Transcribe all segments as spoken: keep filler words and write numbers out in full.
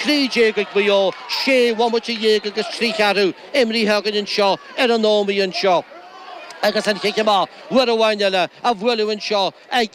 trí déag ag Maigh Eo, sé bhomaite dhéag agus trí cheathrú imrithe againn anseo ar an Ómaigh anseo. Agus an chic amach uair amháin eile á bhualadh anseo ag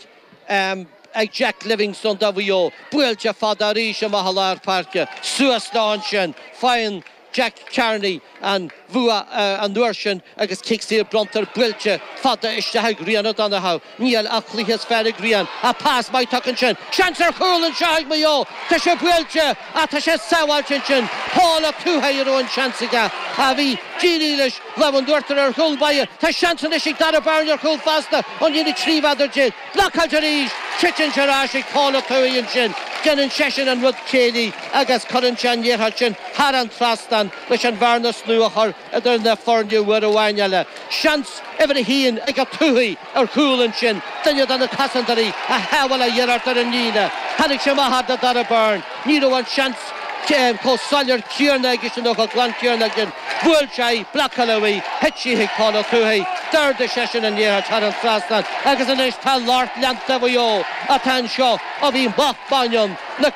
ag Jack Livingstone do Mhaigh Eo. Buailte fada arís amach i lár páirce. Suas leo ansin. Faigheann Jack Carney an bhua an uair sin agus cic saor bronntar buailte fada isteach ag Rian O'Donoghue. Níl an cluiche is fearr ag Rian. Ach pas maith tugtha ansin. Seans ar chúl anseo ag Maigh Eo. Tá sé buailte ach tá sé sábháilte ansin. Paul Ó Tuathaigh a raibh an seans aige. Ach bhí dírí leis lámh in uachtar ar chúl báire. Tá seans anois ag Darragh Beirne ar chúl fosta ón líne trí mhéadar déag. Blocáilte arís. Titeann sé ar ais ag Paul Ó Tuathaigh ansin. Déanann seisean an rud céillí agus cuireann sé an liathróid sin thar an trasnán leis an bhearna nua a chur idir na foirne uair amháin eile. Seans uimhir a haon ag Ó Tuathaigh ar chúl ansin, duine de na cosantóirí a shábháil a iarracht ar an líne. Tháinig sé amach fhad le Darragh Beirne. Ní raibh an seans chomh soiléir céanna aigesean nó chomh glan céanna aige. Bhuail sé í, blocáladh í, thit sí chuig Paul Ó Tuathaigh. D'ardaigh seisean an liathróid thar an trasnán agus anois tá lucht leanta Mhaigh Eo atá anseo ó bhí moch maidin ann, na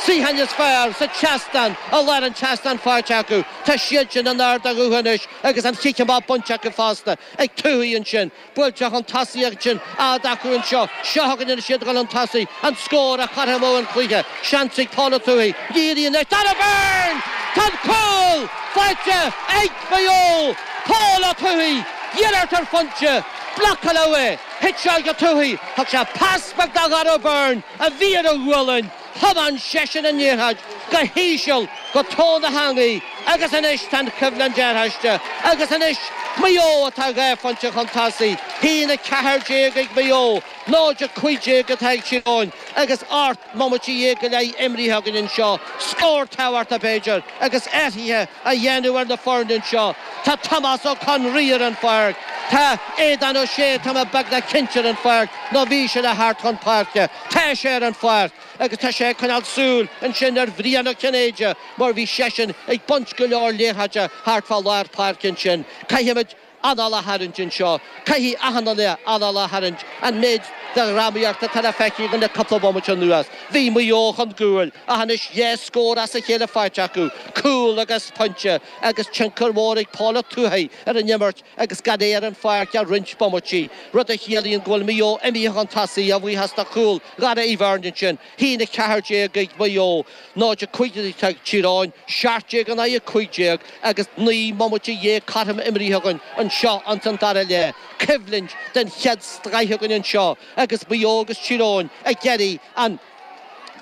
suíocháin is fearr sa tseastán i lár an tseastáin faighte acu. Tá siad sin in ard a nguth anois agus an chic amach bainte acu fosta ag Tuathaigh ansin. Buailte chun tosaigh ansin fhad acu anseo. Seo chugainn anois iad ag dul chun tosaigh. An scór a chothromódh an cluiche. Seans ag Paul Ó Tuathaigh. Ní éiríonn leis. Darragh Beirne! Tá an cúl faighte ag Maigh Eo! Paul Ó Tuathaigh! Iarracht ar phointe. Blocáladh é. Thit sé ag Ó Tuathaigh. Thug sé pas beag do Dharragh Beirne a bhí ar a ghualainn. Thiomáin seisean an liathróid go híseal go tóin na heangaí agus anois tá an choimhlint arís agus anois Maigh Eo atá dhá phointe chun tosaigh, haon a ceathair déag ag Maigh Eo, náid a cúig déag atá ag Tír Eoghain agus ocht mbomaite dhéag go leith imrithe againn anseo. Scór tábhachtach b'fhéidir agus athruithe á dhéanamh ar na foirne anseo. Tá Tomás Ó Conraoi ar an pháirc. Tá Aodán Ó Sé, tá mé beagnach cinnte ar an pháirc nó bhí sé le theacht chun páirce. Tá sé ar an pháirc agus tá sé ag coinneáil súil ansin ar Bhrian Ó Cinnéide mar bhí seisean ag baint go leor liathróide thart fá lár páirce ansin. Caithfimid anáil a tharraingt anseo. Caithfidh achan duine anáil a tharraingt an méid de dhrámaíocht atá le feiceáil againn le cúpla bomaite anuas. Bhí Maigh Eo chun cúil ach anois dhá scór as a chéile faighte acu, cúl agus pointe, agus tionchar mór ag Paul Ó Tuathaigh ar an imirt agus gan é ar an pháirc ach roinnt bomaití, rud a chiallaíonn go bhfuil Maigh Eo imithe chun tosaigh a bhuíochas do chúl Dhara Uí Bheirn ansin. haon a ceathair déag ag Maigh Eo, náid a cúig déag atá ag Tír Eoghain, seacht déag in aghaidh a cúig déag agus naoi mbomaite dhéag cothrom imrithe againn anseo ins an dara leath. Coimhlint den chéad scoith againn anseo agus Maigh Eo agus Tír Eoghain ag iarraidh an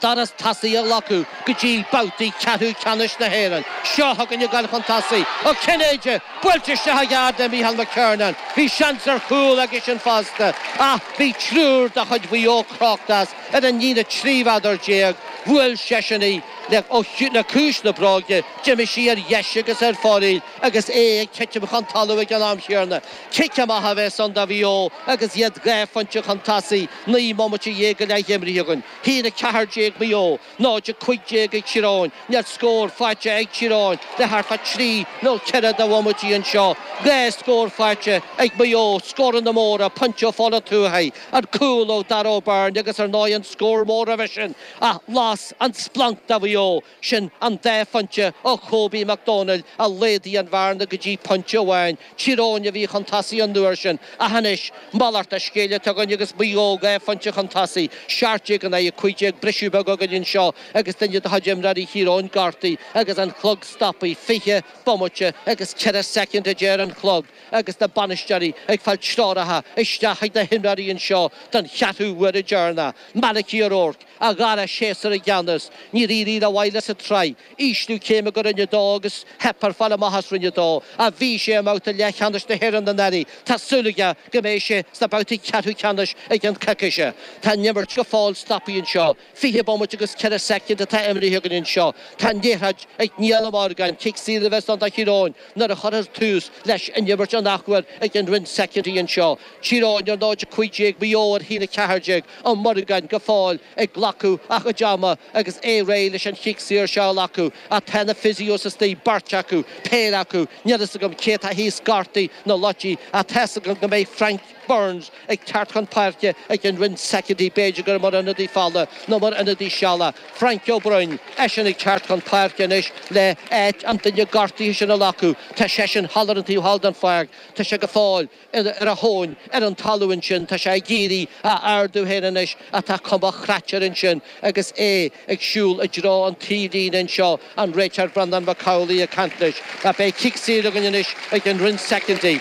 doras tosaigh a ghlacadh go dtí babhtaí ceathrú ceannais na hÉireann. Seo chugainn ag dul chun tosaigh. Ó Cinnéide buailte isteach i gceart le Mícheál McKernan. Bhí seans ar chúl aigesean fosta ach bhí triúr de chuid Mhaigh Eo crochta as ar an líne trí mhéadar déag. Bhuail seisean í le le cluais na bróige. D'imigh sí ar dheis agus ar fóraoil agus é ag titim chun talaimh ag an am chéanna. Cic amach a bheas ann do Mhaigh Eo agus iad dhá phointe chun tosaigh, naoi mbomaite dhéag go leith imrithe againn. haon a ceathair déag Maigh Eo, náid a cúig déag ag Tír Eoghain. Níl scór faighte ag Tír Eoghain le thart fá trí nó ceithre de bhomaití anseo. Dhá scór faighte ag Maigh Eo, scóranna móra, pointe ó Phól Ó Tuathaigh, an cúl ó Darragh O'Byrne agus ar ndóigh an scór mór roimhe sin a las an splanc do Mhaigh Eo. Sin an dá phointe ó Kobe Mac Dónaill a laghdaigh an bhearna go dtí pointe amháin. Tír Eoghain a bhí chun tosaigh an uair sin ach anois malairt an scéil atá againn agus Maigh Eo dhá phointe chun tosaigh, seacht déag in aghaidh a cúig déag. Briseadh beag againn anseo agus duine de chuid imreoirí Thír Eoghain gortaithe agus an clog stoptha fiche bomaite agus ceithre soicind a deir an clog agus na bainisteoirí ag fáil treoracha isteach ag na himreoirí anseo don cheathrú huaire deireanach. Malachy O'Rourke, a dhara séasúr i gceannas, níor éirigh rómhaith leis sa tsraith. Ísliú céime go Roinn a Dó agus theip air fáil amach as Roinn a Dó. Ach bhí sé i mbabhta leathcheannais na hÉireann anuraidh. Tá súil aige go mbeidh sé sna babhtaí ceathrú ceannais i gceann coicíse. Tá an imirt go fóill stoptha anseo. Fiche bomaite agus ceithre soicind atá imrithe againn anseo. Tá an liathróid ag Niall Ó Morgáin, cic saor a bheas ann do Thír Eoghain nuair a chuirfear tús leis an imirt an athuair i gceann roinnt soicindí anseo. Tír Eoghain ar náid a cúig déag, Maigh Eo ar haon a ceathair déag, Ó Morgáin go fóill ag glacadh a chuid ama. ama agus é réidh leis an chic saor seo a ghlacadh. Ach tá na physios istigh, beirt acu, péire acu, níl fhios agam cé atá thíos gortaithe nó loite ach tá fhios agam go mbeidh Frank Burns ag teacht chun páirce ag an Rinn Secondary, b'fhéidir gur mar ionadaí fada nó mar ionadaí sealadach. Frank Ó Broin, eisean ag teacht chun páirce anois le áit an duine gortaithe sin a ghlacadh. Tá seisean thall ar an taobh thall den pháirc. Tá sé go fóill ar a thóin ar an talamh ansin. Tá sé ag iarraidh a ardú féin anois ach tá cuma chraite air ansin agus é ag siúl i dtreo an taobhlíne anseo, an réiteoir Breandán Mac Amhlaigh ag caint leis. Beidh cic saor againn anois ag an Rinn Secondary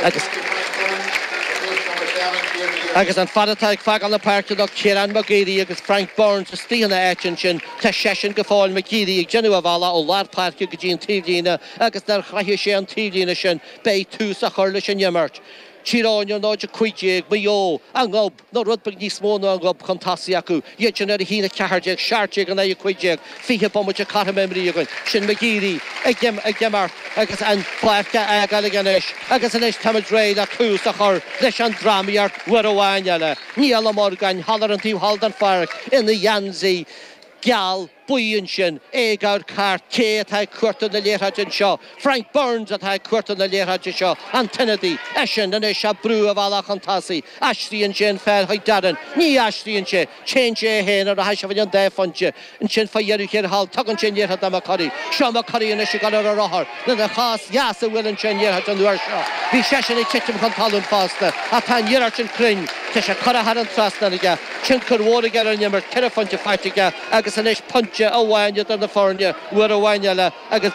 agus Agus an fear atá ag fágáil na páirce ná Ciarán McGeary agus Frank Burns istigh ina áit ansin. Tá seisean go fóill, McGeary, ag déanamh a bhealaigh ó lár páirce go dtí an taobhlíne agus nuair a shroichfidh sé an taobhlíne sin beidh tús á chur leis an imirt. Tír Eoghain ar náid a cúig déag, Maigh Eo a ngob, nó rud beag níos mó ná a ngob chun tosaigh acu. Iad sin ar a haon a ceathair déag, seacht déag in aghaidh a cúig déag, fiche bomaite cothrom imrithe againn. Sin McGeary ag imeacht agus an pháirc á fhágáil aige anois agus anois táimid réidh le tús a chur leis an drámaíocht uair amháin eile. Niall Ó Morgáin thall ar an taobh thall den pháirc ina gheansaí geal buí ansin, é ag amharc thart. Cé atá ag cuartú na liathróide anseo? Frank Burns atá ag cuartú na liathróide seo, an t-ionadaí. Eisean anois ag brú a bhealach chun tosaigh. Aistríonn sé an pheil chuig Darren. Ní aistríonn sé. Téann sé é féin ar a thaise an dá phointe. Ansin fá dheireadh thiar thall, tugann sé an liathróid do McCurry. Seo McCurry anois ag dul ar a rothar lena chos dheas a bhuaileann sé an liathróid an uair seo. Bhí seisean ag titim chun talún fosta ach tá an iarracht sin cruinn. Tá sé curtha thar an trasnán aige. Tionchar mhór aige ar an imirt, ceithre phointe faighte aige agus anois pointe amháin idir na foirne uair amháin eile agus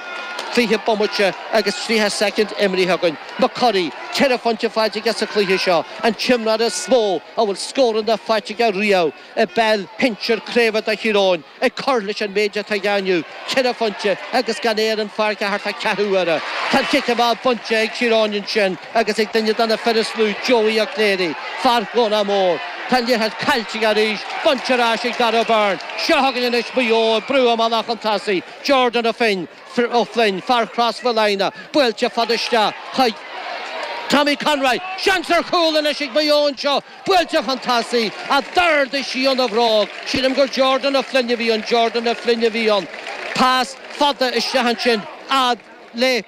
fiche bomaite agus tríocha soicind imrithe againn. McCurry, ceithre phointe faighte aige sa chluiche seo, an t-imreoir is mó a bhfuil scóranna faighte aige riamh i bpeil shinsir craoibhe do Thír Eoghain, ag cur leis an méid atá aige inniu, ceithre phointe agus gan é ar an pháirc ach thart fá ceathrú uaire. Tá an cic amach bainte ag Tír Eoghain ansin agus ag duine de na fir is lú, Joey Ó Cléirigh, fear Dhomhnach Mór. Tá an liathróid caillte aige arís, bainte ar ais ag Darragh Beirne. Seo chugainn anois Maigh Eo ag brú a mbealach chun tosaigh, Jordan Ó Finn, Ó Floinn, fear Chros Mhic Lionnaigh, buailte fada isteach chuig Tommy Conroy. Seans ar chúl anois ag Maigh Eo anseo, buailte chun tosaigh, ach d'ardaigh sí óna bhróg. Sílim gur Jordan Ó Floinn a bhí ann, Jordan Ó Floinn a bhí ann. Pas fada isteach ansin fhad le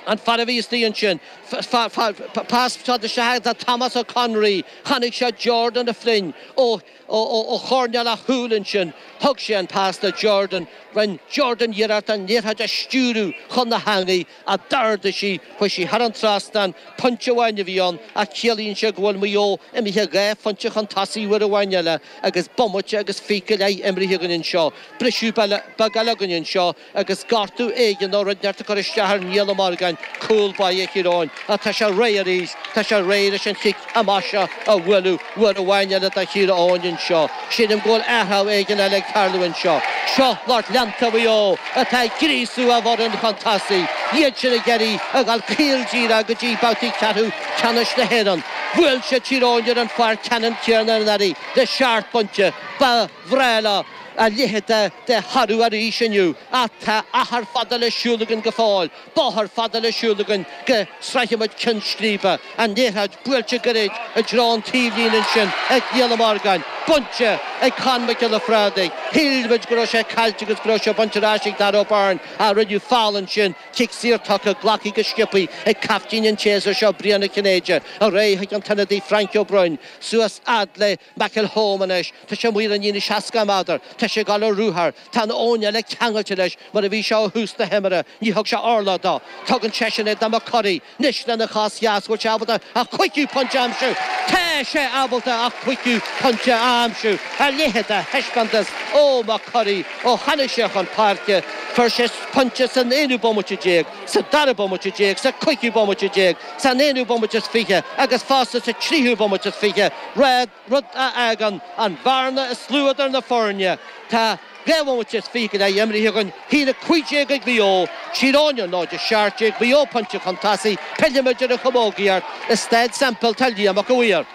an fear a bhí istigh ansin. Pas fada isteach do Thomas Ó Conraoi. Chonaic sé Jordan Ó Floinn ó ó choirnéal a shúl ansin. Thug sé an pas do Jordan. Rinne Jordan iarracht an liathróid a stiúradh chun na heangaí ach d'ardaigh sí, chuaigh sí thar an trasnán. Pointe amháin a bhí ann ach ciallaíonn sé go bhfuil Maigh Eo imithe dhá phointe chun tosaigh uair amháin eile agus bomaite agus fiche go leith imrithe againn anseo. Briseadh beag eile againn anseo agus gortú éigin nó rud inteacht ag cur isteach ar Niall Ó Morgáin, cúl báire Thír Eoghain. Ach tá sé réidh arís, tá sé réidh leis an chic amach seo a bhualadh uair amháin eile do Thír Eoghain anseo. Sílim go bhfuil athrú éigin eile ag tarlú anseo. Seo lucht leanta Mhaigh Eo atá ag gríosú a bhfoireann chun tosaigh. Iad sin ag iarraidh a dhul caol díreach go dtí babhtaí ceathrú ceannais na hÉireann. Bhuail siad Tír Eoghain ar an pháirc ceannann céanna anuraidh le seacht bpointe. Ba bhreá leo a leithéid de thoradh arís inniu ach tá achar fada le siúl againn go fóill, bóthar fada le siúl againn go sroichfidh muid ceann scríbe. An liathróid buailte gairid i dtreo an taobhlíne ansin ag Niall Ó Morgáin, bainte ag Con Mac Giolla Bhrádaigh. Shíl muid go raibh sé caillte agus go raibh sé bainte ar ais ag Darragh O'Byrne ach rinneadh feall ansin, cic saor tugtha, glactha go sciobtha ag caiftín an tséasúr seo, Brian Ó Cinnéide, ar aghaidh chuig an t-ionadaí Frank Ó Broin, suas fhad le McElholm anois. Tá sé amuigh ar an líne seasca méadar. Tá sé ag dul ar ruathar. Tá an fhoireann eile ceangailte leis mar a bhí sé ó thús na himeartha. Ní thug sé orlach dó. Tugann seisean é do McCurry. Anois lena chos dheas, bhfuil sé ábalta a chúigiú pointe a aimsiú? Tá sé ábalta a chúigiú pointe a aimsiú! A leithéid de thaispeántas ó McCurry ó tháinig sé chun páirce. Fuair sé pointe san aonú bomaite déag, sa dara bomaite déag, sa cúigiú bomaite déag, san aonú bomaite is fiche agus fosta sa tríú bomaite is fiche. Rud a fhágann an bhearna is lú idir na foirne. Tá dhá bhomaite is fiche go leith imrithe againn, a haon a cúig déag ag Maigh Eo, Tír Eoghain ar náid a seacht déag, Maigh Eo pointe chun tosaigh, pillfimid ar an chamógaíocht i Staid Semple, tá Liam Mac a' Mhaoir.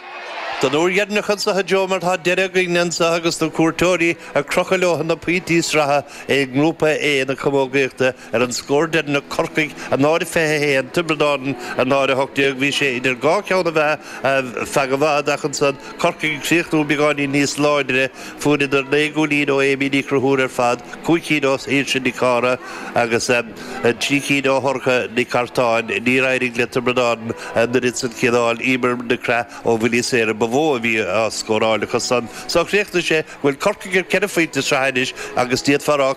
Don uair dheireanach anseo a Joe mar tá deireadh againn anseo agus na cuairteoirí ag crochadh leo na pointí sraithe i ngrúpa A na camógaíochta ar an scór deireanach Corcaigh a náid fiche haon Tiobraid Árann a náid a hocht déag bhí sé idir dhá cheann a bheith feadh i bhfad ach ansan Corcaigh críochnú beagáinín níos láidre fuaireadar naoi gcúilín ó Amy Ní Chonchúir ar fad cúig cinn ó Saoirse Nic Cára agus trí cinn ó Shorcha Nic Cartáin níor éirigh le Tiobraid Árann an oiread san cineál Emer McGrath ó bhuillí saora ba mhó a bhí á scóráil acu san. So chríochnaigh sé bhfuil Corcaigh ar ceithre phointe sraithe anois agus d'fhéadfá rá